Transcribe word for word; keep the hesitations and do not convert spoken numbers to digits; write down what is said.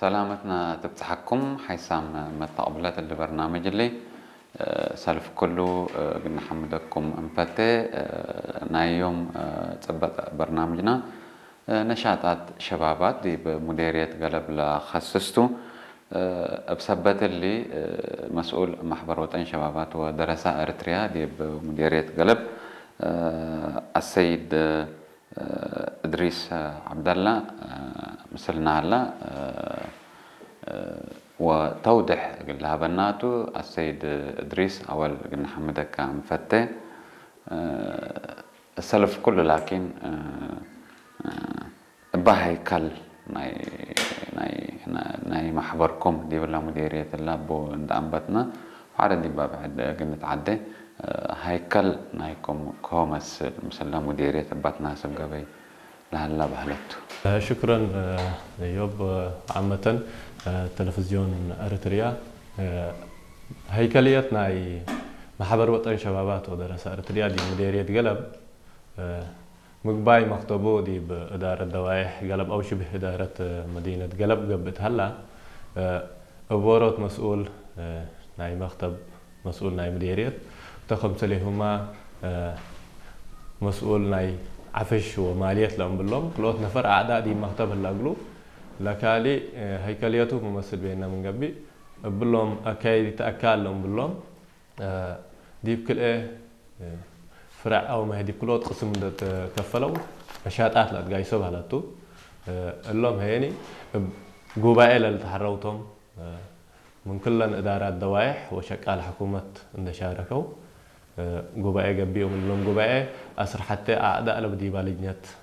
ሰላመትነ ትብጽሐኩም ሓይሳም መተቅብለት እሊ በርናምጅ እሊ። ሰልፍ ኩሉ እግል ነሐምደኩም እንፈቴ። ናይ ዮም ጽበጥ በርናምጅና ነሻጣት ሸባባት ዲብ ሙዴርየት ገለብ ለከስስ ቱ። እብ ሰበት እሊ መስኡል መሕበር ወጠን ሸባባት ወደረሳ ኤረትርያ ዲብ ሙዴርየት ገለብ አሰይድ እድሪስ ዐብደላ ምስልና ሀላ፣ ወተውድሕ እግል ለሀበና ቱ። አሰይድ እድሪስ፣ አወል እግል ነሐምደከ እንፈቴ። ሰልፍ ኩሉ ላኪን እበ ሀይከል ናይ፣ ናይ፣ ናይ መሕበርኩም ዲብለ ሙዴርየት እለ እቡ እንደ አንበትነ፣ ወሐደ ዲብ ብዕድ እግል ንትዓዴ፣ ሀይከል ናይኩም ከሆ መስል ምስለ ሙዴርየት እበ ትናስብ ገበይ ለሀላ በህለት ቱ። ሽክረን እዮብ። ዓመተን ተለፍዝዮን ኤረትርያ፣ ሀይከልየት ናይ መሕበር ወጠን ሸባባት ወደረሳ ኤረትርያ ዲብ ሙዴርየት ገለብ፣ ምግባይ መክተቡ ዲብ እዳረት ደዋይሕ ገለብ አው ሽብህ እዳረት መዲነት ገለብ ገብእ ተሀላ፣ እብ ዎሮት መስኡል ናይ መክተብ፣ መስኡል ናይ ሙዴርየት፣ ተ ክምሰሌሁመ መስኡል ናይ ዐፍሽ ወማልየት ለእምብሎም ክልኦት ነፈር አዕዳእ ዲብ መክተብ ህለ እግሉ፣ ለካሊ ሀይከልየቱ መመስል ቤነ ምን ገብእ፣ እብሎም አካይድ ይትአካል ለእምብሎም፣ ዲብ ክልኤ ፍረዕ አውመ ዲብ ክልኦት ቅስም እንዴ ትከፈለው ነሻጣት ለአትጋይሶ በህለት ቱ። እሎም ሄኒ እብ ጉባኤ ለልትሐረው ቶም፣ ምን ክለን እዳራት ደዋይሕ ወሸቃል ሕኩመት እንዴ ሻረከው ጉባኤ ገብኡ። ምን እሎም ጉባኤ አስር ሐቴ አዕዳእ ለብ ዲባ ልጅነት